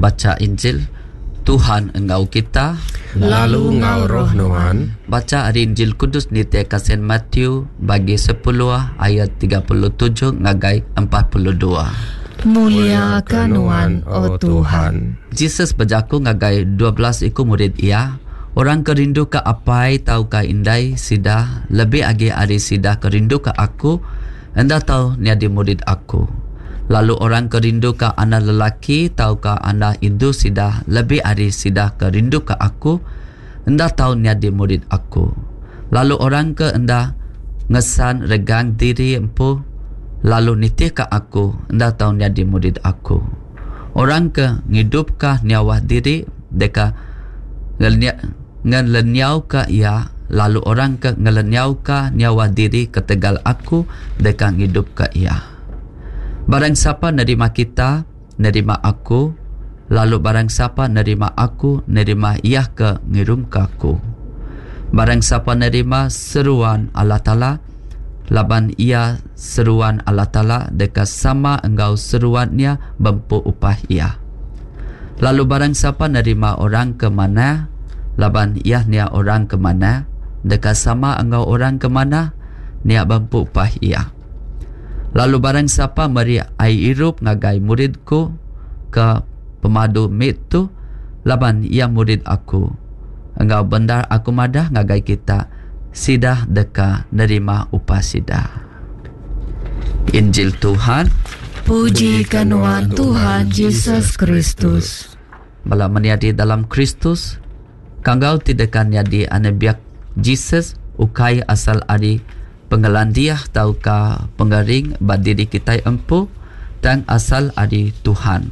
Bacha Injil Tuhan enggau kita. Lalu enggau roh nuan. Bacha ari Injil Kudus nitihka Saint Matthew bagi sepuluh ayat 37 ngagai 42. Mulia ka nuan, O Tuhan. Jesus bejaku ngagai 12 iku murid iya, Orang ke rinduka apai tauka indai sida lebih agi ari sida ke rinduka aku, enda tau nyadi murid aku. Lalu orang ke rinduka anak lelaki tauka anak indu sida lebih ari sida ke rinduka aku, enda tau nyadi murid aku. Lalu orang ke enda ngesan regang diri empu lalu nitihka aku, enda tau nyadi murid aku. Orang ke ngidupka nyawa diri deka ngelenyauka iya, lalu orang ke ngelenyauka nyawa diri ketegal aku deka ngidupka iya. Barang sapa nerima kita, nerima aku, lalu barang sapa nerima aku, nerima iya ke ngirumka aku. Barang sapa nerima seruan Allah Taala, laban iya seruan Allah Taala deka sama enggau seruan nya bempu upah iya. Lalu barang sapa nerima orang ke manah, laban iya nya orang ke manah, deka sama enggau orang ke manah nya bempu upah iya. Lalu barang sapa meri ai irup ngagai murid ku ke pemadu mit tu, laban iya murid aku, enggau bendar aku madah ngagai kita, sida deka nerima upah sida. Injil Tuhan. Puji ka nuan Tuhan Jesus Kristus. Bala menyadi dalam Kristus, kanggau ti deka nyadi anembiak Jesus ukai asal ari pengelandik tauka pengering ba diri kitai empu tang asal ari Tuhan.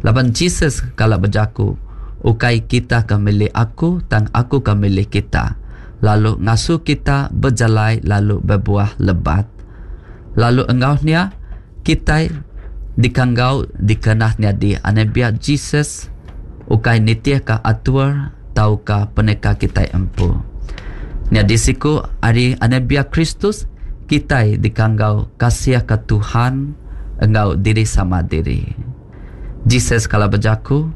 Laban Jesus kala bejaku, Ukai kita ke milih aku tang aku ke milih kita, lalu ngasuh kita bejalai lalu bebuah lebat. Lalu enggau nya, kitai dikanggau dikena nyadi anembiak Jesus ukai nitihka atur tauka peneka kitai empu. Nyadi siku ari anembiak Kristus, kitai dikanggau kasihka Tuhan enggau diri sama diri. Jesus kala bejaku,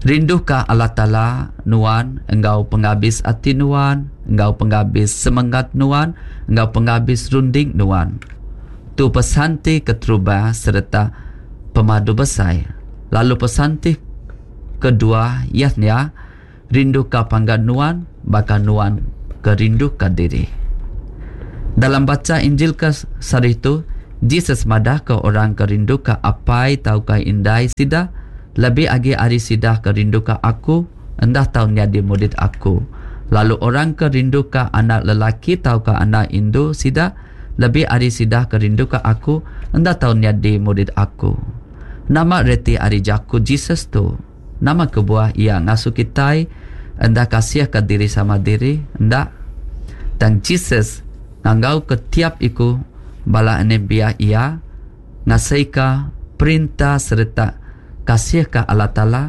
Rinduka Allah Taala nuan enggau pengabis ati nuan, enggau pengabis semengat nuan, enggau pengabis runding nuan. Tu pesan ti keterubah sereta pemadu besai. Lalu pesan ti kedua iya nya, Rinduka panggan nuan baka nuan ke rinduka diri. Dalam bacha Injil ke sehari tu, Jesus madahka orang ke rinduka apai tauka indai sida lebih agi ari sida ke rinduka aku enda tau nyadi murid aku. Lalu orang ke rinduka anak lelaki tauka anak indu sida lebih ari sida ke rinduka aku enda tau nyadi murid aku. Nama reti ari jaku Jesus tu? Nama kebuah iya ngasuh kitai enda kasihka diri sama diri? Enda. Tang Jesus nganggauka tiap iku bala anembiak iya ngasaika perintah sereta kasihka Allah Taala,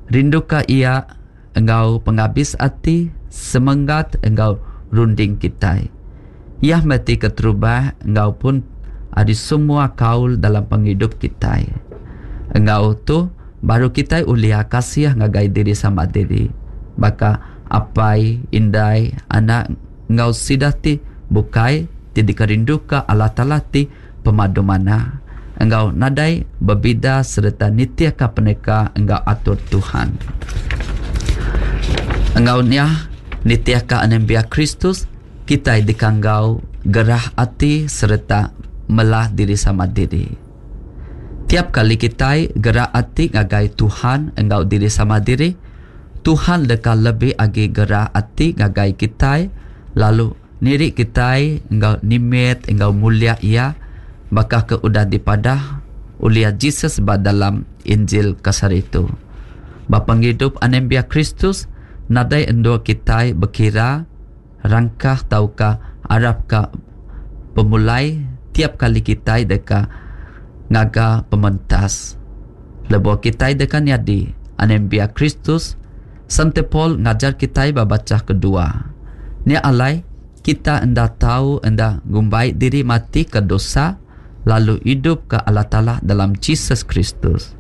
rinduka Iya enggau pengabis ati, semengat enggau runding kitai. Iya meh ti keterubah enggau pun ari semua kaul dalam pengidup kitai. Enggau tu, baru kitai ulih kasih ngagai diri sama diri, baka apai, indai, anak enggau sida ti bukai ti dikerinduka Allah Taala ti pemadu manah, enggau nadai bebida sereta nitihka peneka enggau atur Tuhan. Enggau nya, nitihka anembiak Kristus, Kitai dikanggau gerah ati sereta melah diri sama diri. Tiap kali kitai gerah ati ngagai Tuhan enggau diri sama diri, Tuhan deka lebih agi gerah ati ngagai kitai lalu niri kitai enggau nimit enggau mulia Iya baka ke udah dipadah ulih Jesus ba dalam Injil ke sehari tu. Ba pengidup anembiak Kristus, nadai endur kitai bekira Rangkah tauka arapka pemulai tiap kali kitai deka ngaga pementas. Lebuh kitai deka nyadi anembiak Kristus, Sante Paul ngajar kitai ba bachah kedua. Nya alai, kita enda tau enda ngumbai diri mati ke dosa lalu idup ke Allah Taala dalam Jesus Kristus.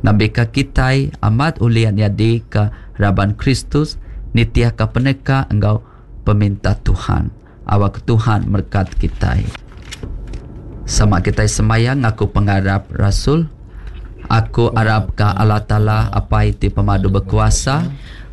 Ngambika kitai amat ulih nyadika raban Kristus nitihka peneka enggau peminta Tuhan. Awakka Tuhan merekat kitai. Sama kitai semaya ngaku pengarap rasul. Aku arapka Allah Taala Apai ti pemadu bekuasa,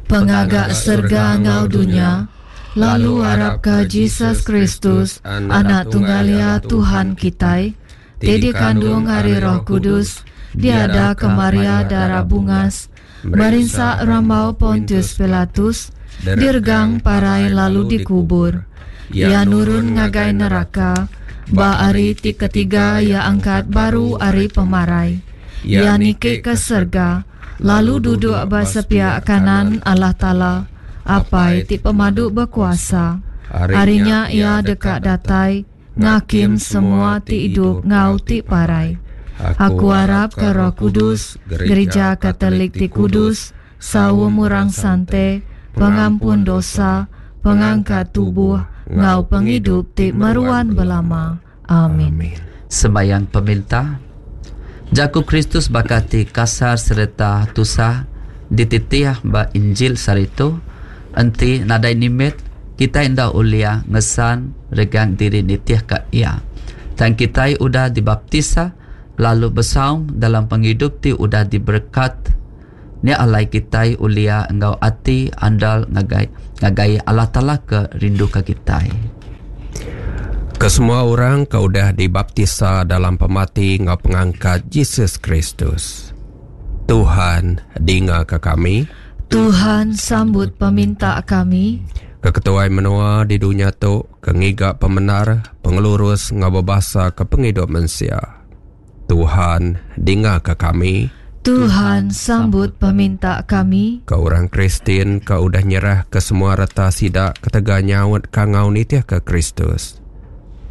Pengaga serega enggau dunya, lalu arapka Jesus Kristus, Anak Tunggal Iya Tuhan kitai, ti dikandung ari Roh Kudus, diadaka Maria Dara Bungas, merinsa rambau Pontius Pilatus, diregang parai lalu dikubur. Iya nurun ngagai neraka, ba hari ti ketiga iya angkat baru ari pemarai. Iya niki ke serega, lalu duduk ba sepiak kanan Allah Taala, Apai ti Pemadu Bekuasa. Ari nya iya deka datai ngakim semua ti idup enggau ti parai. Aku arapka Roh Kudus, Gerija Katolik ti kudus, saum orang sante, pengampun dosa, pengangkat tubuh, enggau pengidup ti meruan belama. Amin. Sembahyang Peminta. Jaku Kristus baka ti kasar sereta tusah dititih ba Injil sehari tu, enti nadai nimit, kitai enda ulih ngesan regang diri nitihka Iya. Tang kitai udah dibaptisa lalu besaum dalam pengidup ti udah diberekat. Nya alai kitai ulih enggau ati andal ngagai ngagai Allah Taala ke rinduka kitai. Kesemua orang ke udah dibaptisa dalam pemati enggau pengangkat Jesus Kristus. Tuhan, dingaka kami. Tuhan, sambut peminta kami. Ke ketuai menua di dunya tu ke ngiga pemendar, pengelurus enggau bebasa ke pengidup mensia. Tuhan, dingaka kami. Tuhan, sambut peminta kami. Ke orang Kristian ke udah nyerahka semua reta sida ketegal nyaut kangau nitihka Kristus.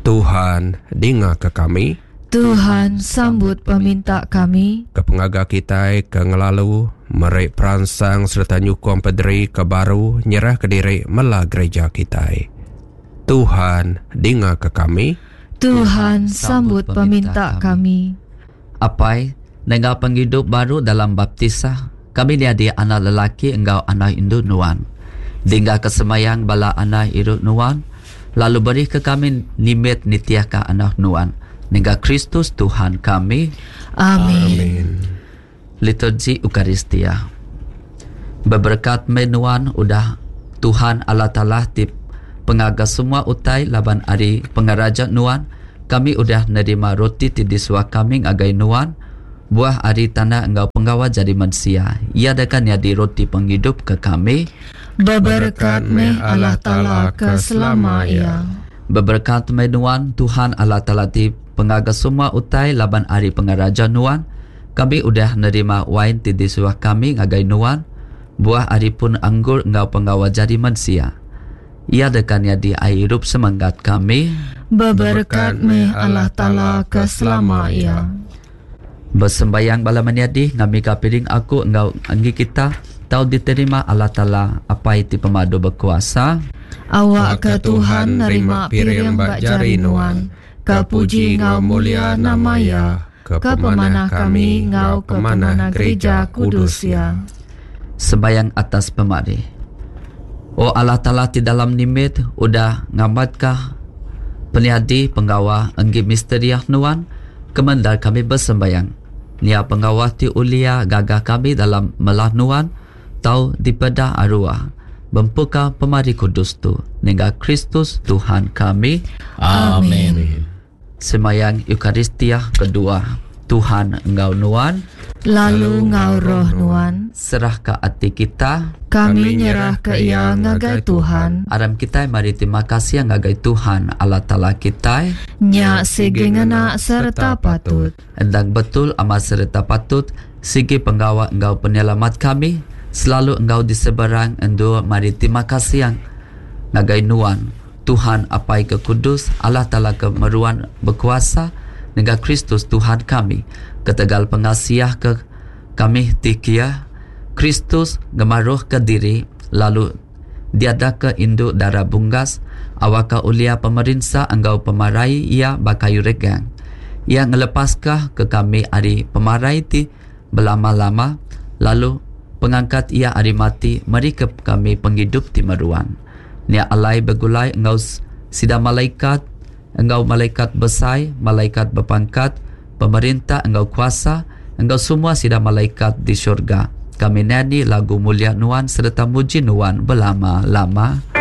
Tuhan, dingaka kami. Tuhan, sambut peminta kami. Ke pengaga kitai ke ngelalu, meri peransang sereta nyukung pederi ke baru nyerahka diri mela gereja kitai. Tuhan, dingaka kami. Tuhan, sambut peminta kami. Apai, nengah pengidup baru dalam baptisa, kami nyadi anak lelaki enggau anak indu Nuan. Dinggaka semayang bala anak iru Nuan, lalu berika kami nimit nitihka anak Nuan. Nengah Kristus Tuhan kami. Amin. Liturgi Ukaristia. Beberekat meh nuan udah Tuhan Allah Taala ti pengaga semua utai laban ari pengeraja nuan kami udah nerima roti ti disuah kami ngagai nuan buah ari tanah enggau penggawa jadi mensia. Iya deka nyadi roti pengidup ke kami. Beberekat meh Allah Taala ke selama iya. Beberekat meh nuan Tuhan Allah Taala ti pengaga semua utai laban ari pengeraja nuan Kami udah nerima wain ti disuah kami ngagai nuan, buah ari pun anggur enggau pengawa jari mensia. Iya deka nyadi ai irup semanggat kami. Beberekat meh Allah Taala ke selama iya. Besembayang bala menyadi ngambika piring aku enggau enggi kita tau diterima Allah Taala Apai ti Pemadu Bekuasa. Awakka Tuhan nerima piring ba jari nuan, ke puji enggau mulia nama Iya. Ke pemanah kami enggau ke pemanah gerija kudus Iya. Sembahyang atas pemari. O Allah Taala ti dalam nimit udah ngamatka penyadi penggawa enggi misteri Nuan, kemendar kami besembahyang. Nya penggawa ti ulia gaga kami dalam melah Nuan tau dipeda aruah bempuka pemari kudus tu nengah Kristus Tuhan kami. Amin. Semayang Eukaristia kedua, Tuhan enggau nuan. Lalu enggau roh nuan. Serahka ati kita. Kami nyerahka iya ngagai Tuhan. Aram kitai meri terima kasih ngagai Tuhan Allah Taala kitai. Nya sigi ngena sereta patut. Endang betul amat sereta patut, sigi penggawa enggau penyelamat kami, selalu enggau diseberang endur meri terima kasih ngagai nuan. Tuhan Apai ke Kudus, Allah Taala ke meruan bekuasa, nengah Kristus Tuhan kami, ketegal pengasiah ke kami ti kia, Kristus ngemaruhka diri lalu diadaka indu dara bunggas, awakka ulia pemerinsa enggau pemarai iya ba kayu regang. Iya ngelepaska ke kami ari pemarai ti. belama-lama lalu pengangkat iya ari mati merika kami pengidup ti meruan. Nya alai begulai enggau sida malaikat enggau malaikat besai, malaikat bepangkat, pemerintah enggau kuasa, enggau semua sida malaikat di syurga. Kami nyanyi lagu mulia Nuan sereta muji Nuan belama-lama.